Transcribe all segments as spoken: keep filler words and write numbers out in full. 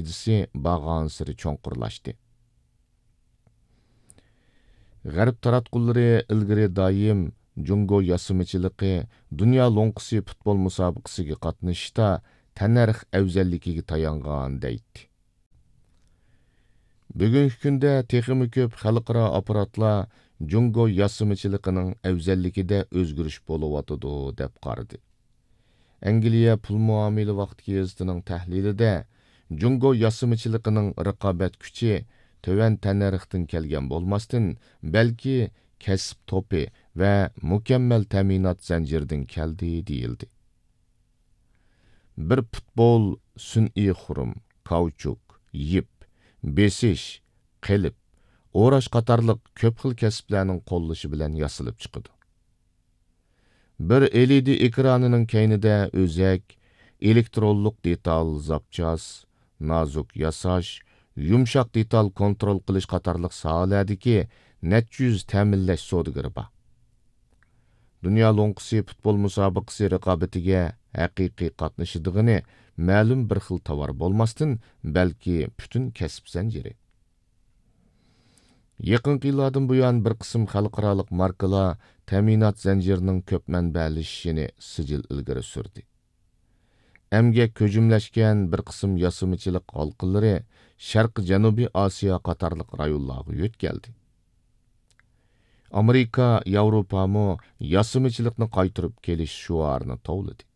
پايدىسى بارغانسېرى چوڭقۇرلاشتى. غەرب تاراتقۇلىرى ئىلگىرى دائىم جۇڭگو ياسىمىچىلىقى دۇنيا لوڭقىسى پۇتبول مۇسابىقىسىگە قاتنىشىشتا تەننەرخ ئەۋزەللىكىگە تايانغان دەيتتى. بۈگۈنكى كۈندە تېخىمۇ كۆپ خەلقئارا ئاپپاراتلار جۇڭگو ياسىمىچىلىقىنىڭ ئەۋزەللىكىدە ئۆزگىرىش بولۇۋاتىدۇ، دەپ قارىدى. ئەنگلىيە پۇل مۇئامىلە ۋاقتى گېزىتىنىڭ تەھلىلىدە، جۇڭگو ياسىمىچىلىقىنىڭ رىقابەت كۈچى تۆۋەن تەننەرختىن كەلگەن بولماستىن، بەلكى كەسىپ توپى ۋە مۇكەممەل تەمىنات زەنجىرىدىن كەلدى، دېيىلدى. بىر پۇتبول سۈنئىي خۇرۇم، كاۋچۇك، يىپ، بېسىش، قېلىپ، ئوراش قاتارلىق كۆپ خىل كەسىپلەرنىڭ قوللىشى بىلەن ياسىلىپ چىقىدۇ. بىر ئېلئىدى ئېكرانىنىڭ كەينىدە ئۆزەك، ئېلېكترونلۇق دېتال، زاپچاس، نازۇك ياساش، يۇمشاق دېتال كونترول قىلىش قاتارلىق ساھەلەردىكى نەچچە يۈز تەمىنلەش سودىگىرى بار. دۇنيا لوڭقىسى پۇتبول مۇسابىقىسى رىقابىتىگە ھەقىقىي قاتنىشىدىغىنى مەلۇم بىر خىل تاۋار بولماستىن، بەلكى پۈتۈن كەسىپ زەنجىرى. يېقىنقى يىللاردىن بۇيان، بىر قىسىم خەلقئارالىق ماركىلار تەمىنات زەنجىرىنىڭ كۆپ مەنبەلىشىشىنى سىجىل ئىلگىرى سۈردى. ئەمگەك كۆجۈملەشكەن بىر قىسىم ياسىمىچىلىق ھالقىلىرى شەرقىي جەنۇبىي ئاسىيا قاتارلىق رايونلارغا يۆتكەلدى. ئامېرىكا، ياۋروپامۇ ياسىمىچىلىقنى قايتۇرۇپ كېلىش شوئارىنى توۋلىدى.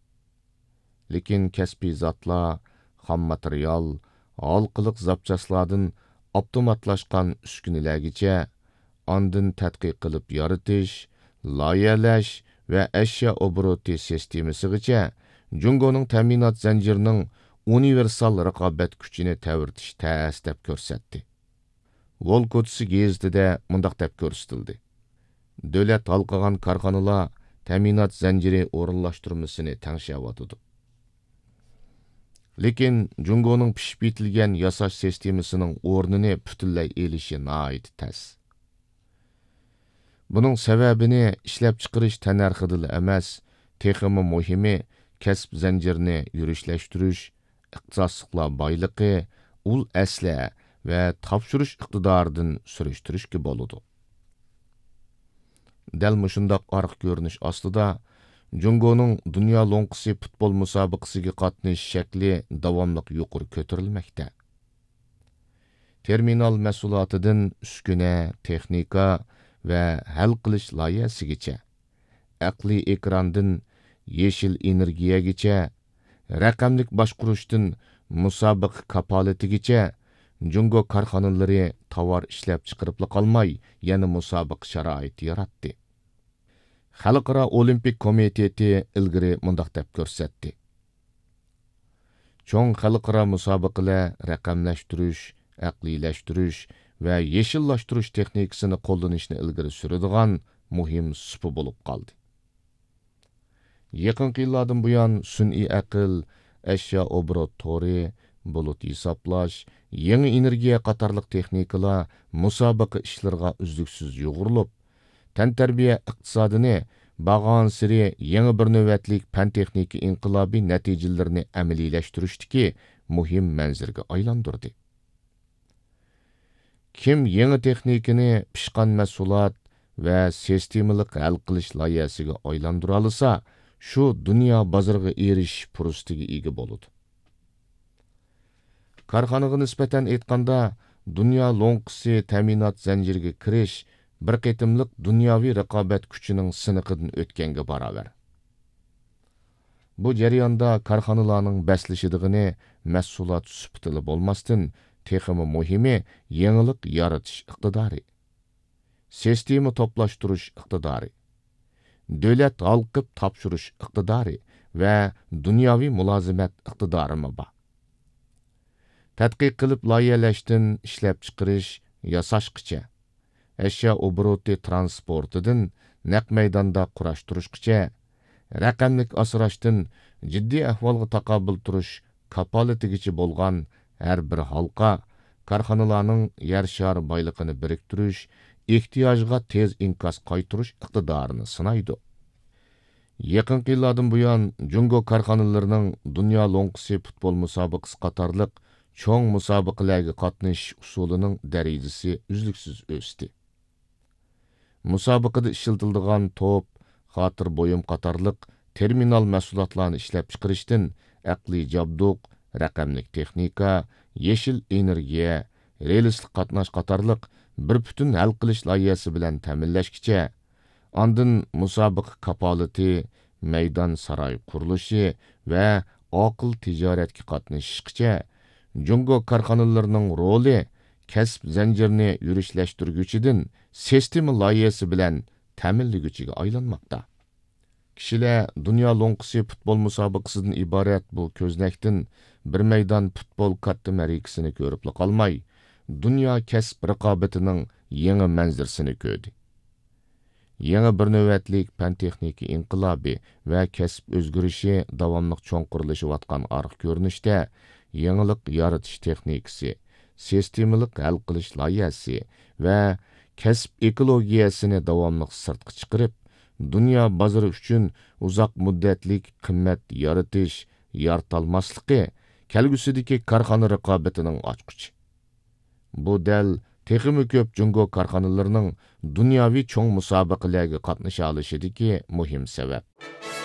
لېكىن كەسپىي زاتلار، خام ماتېرىيال، ھالقىلىق زاپچاسلاردىن ئاپتوماتلاشقان ئۈسكۈنىلەرگىچە، ئاندىن تەتقىق قىلىپ يارىتىش، لايىھەلەش ۋە ئەشيا ئوبوروتى سىستېمىسىغىچە، جۇڭگونىڭ تەمىنات زەنجىرىنىڭ ئۇنىۋېرسال رىقابەت كۈچىنى تەۋرىتىش تەس، دەپ كۆرسەتتى. ۋول كوچىسى گېزىتىدە مۇنداق دەپ كۆرسىتىلدى: دۆلەت ھالقىغان كارخانىلار تەمىنات زەنجىرى ئورۇنلاشتۇرمىسىنى تەڭشەۋاتىدۇ. لېكىن جۇڭگونىڭ پىشىپ يېتىلگەن ياساش سىستېمىسىنىڭ ئورنىنى پۈتۈنلەي ئېلىشى ناھايىتى تەس. بۇنىڭ سەۋەبىنى ئىشلەپچىقىرىش تەننەرخىدىلا ئەمەس، تېخىمۇ مۇھىمى، كەسىپ زەنجىرىنى يۈرۈشلەشتۈرۈش، ئىختىساسلىقلار بايلىقى، ئۇل ئەسلىھە ۋە تاپشۇرۇش ئىقتىدارىدىن سۈرۈشتۈرۈشكە بولىدۇ. دەل مۇشۇنداق ئارقا كۆرۈنۈش ئاستىدا، جۇڭگونىڭ دۇنيا لوڭقىسى پۇتبول مۇسابىقىسىگە قاتنىشىش شەكلى داۋاملىق يۇقىرى كۆتۈرۈلمەكتە. تېرمىنال مەھسۇلاتىدىن ئۈسكۈنە، تېخنىكا ۋە ھەل قىلىش لايىھەسىگىچە، ئەقلىي ئېكراندىن يېشىل ئېنېرگىيەگىچە، رەقەملىك باشقۇرۇشتىن مۇسابىقە كاپالىتىگىچە، جۇڭگو كارخانىلىرى تاۋار ئىشلەپچىقىرىپلا قالماي، يەنە مۇسابىقە شارائىتى ياراتتى. خەلقئارا ئولىمپىك كومىتېتى ئىلگىرى مۇنداق دەپ كۆرسەتتى: چوڭ خەلقئارا مۇسابىقىلەر رەقەملەشتۈرۈش، ئەقلىيلەشتۈرۈش ۋە يېشىللاشتۇرۇش تېخنىكىسىنى قوللىنىشنى ئىلگىرى سۈرىدىغان مۇھىم سۇپا بولۇپ قالدى. يېقىنقى يىللاردىن بۇيان، سۈنئىي ئەقىل، ئەشيا ئوبوروت تورى، بۇلۇت ھېسابلاش، يېڭى ئېنېرگىيە قاتارلىق تېخنىكىلار مۇسابىقە ئىشلىرىغا ئۈزلۈكسىز يۇغۇرۇلۇپ، تەنتەربىيە ئىقتىسادىنى بارغانسېرى يېڭى بىر نۆۋەتلىك پەن-تېخنىكا ئىنقىلابى نەتىجىلىرىنى ئەمەلىيلەشتۈرۈشتىكى مۇھىم مەنزىرىگە ئايلاندۇردى. كىم يېڭى تېخنىكىنى پىشقان مەھسۇلات ۋە سىستېمىلىق ھەل قىلىش لايىھەسىگە ئايلاندۇرالىسا، شۇ دۇنيا بازىرىغا ئېرىشىش پۇرسىتىگە ئىگە بولىدۇ. كارخانىغا نىسبەتەن ئېيتقاندا، دۇنيا لوڭقىسى تەمىنات زەنجىرىگە كىرىش بىر قېتىملىق دۇنياۋى رىقابەت كۈچىنىڭ سىنىقىدىن ئۆتكەنگە باراۋەر. بۇ جەرياندا كارخانىلارنىڭ بەسلىشىدىغىنى مەھسۇلات سۈپىتىلا بولماستىن، تېخىمۇ مۇھىمى يېڭىلىق يارىتىش ئىقتىدارى، سىستېما توپلاشتۇرۇش ئىقتىدارى، دۆلەت ھالقىپ تاپشۇرۇش ئىقتىدارى ۋە دۇنياۋى مۇلازىمەت ئىقتىدارىمۇ بار. تەتقىق قىلىپ لايىھەلەشتىن ئىشلەپچىقىرىش، ياساشقىچە، ئەشيا ئوبوروتى ترانسپورتىدىن نەق مەيداندا قۇراشتۇرۇشقىچە، رەقەملىك ئاسراشتىن جىددىي ئەھۋالغا تاقابىل تۇرۇش كاپالىتىگىچە بولغان ھەر بىر ھالقا كارخانىلارنىڭ يەر شارى بايلىقىنى بىرىكتۈرۈش، ئېھتىياجىغا تېز ئىنكاس قايتۇرۇش ئىقتىدارىنى سىنايدۇ. يېقىنقى يىللاردىن بۇيان، جۇڭگو كارخانىلىرىنىڭ دۇنيا لوڭقىسى پۇتبول مۇسابىقىسى قاتارلىق چوڭ مۇسابىقىلەرگە قاتنىشىش ئۇسۇلىنىڭ دەرىجىسى ئۈزلۈكسىز ئۆستى. مۇسابىقىدە ئىشلىتىلىدىغان توپ، خاتىرە بۇيۇم قاتارلىق تېرمىنال مەھسۇلاتلارنى ئىشلەپچىقىرىشتىن ئەقلىي جابدۇق، رەقەملىك تېخنىكا، يېشىل ئېنېرگىيە، رېلىسلىق قاتناش قاتارلىق بىر پۈتۈن ھەل قىلىش لايىھەسى بىلەن تەمىنلەشكىچە، ئاندىن مۇسابىقە كاپالىتى، مەيدان ساراي قۇرۇلۇشى ۋە ئاقىل تىجارەتكە قاتنىشىشقىچە، جۇڭگو كارخانىلىرىنىڭ رولى كەسىپ زەنجىرىنى يۈرۈشلەشتۈرگۈچىدىن سىستېما لايىھەسى بىلەن تەمىنلىگۈچىگە ئايلانماقتا. كىشىلەر دۇنيا لوڭقىسى پۇتبول مۇسابىقىسىدىن ئىبارەت بۇ كۆزنەكتىن بىر مەيدان پۇتبول كاتتا مەرىكىسىنى كۆرۈپلا قالماي، دۇنيا كەسىپ رىقابىتىنىڭ يېڭى مەنزىرىسىنى كۆردى. يېڭى بىر نۆۋەتلىك پەن-تېخنىكا ئىنقىلابى ۋە كەسىپ ئۆزگىرىشى داۋاملىق چوڭقۇرلىشىۋاتقان ئارقا كۆرۈنۈشتە، يېڭىلىق يارىتىش تېخنىكىسى، سىستېمىلىق ھەل قىلىش لايىھەسى ۋە كەسىپ ئېكولوگىيەسىنى داۋاملىق سىرتقا چىقىرىپ، دۇنيا بازىرى ئۈچۈن ئۇزاق مۇددەتلىك قىممەت يارىتىش، يارىتالماسلىقى كەلگۈسىدىكى كارخانا رىقابىتىنىڭ ئاچقۇچى. بۇ دەل تېخىمۇ كۆپ جۇڭگو كارخانىلىرىنىڭ دۇنياۋى چوڭ مۇسابىقىلەرگە قاتنىشالىشىدىكى مۇھىم سەۋەب.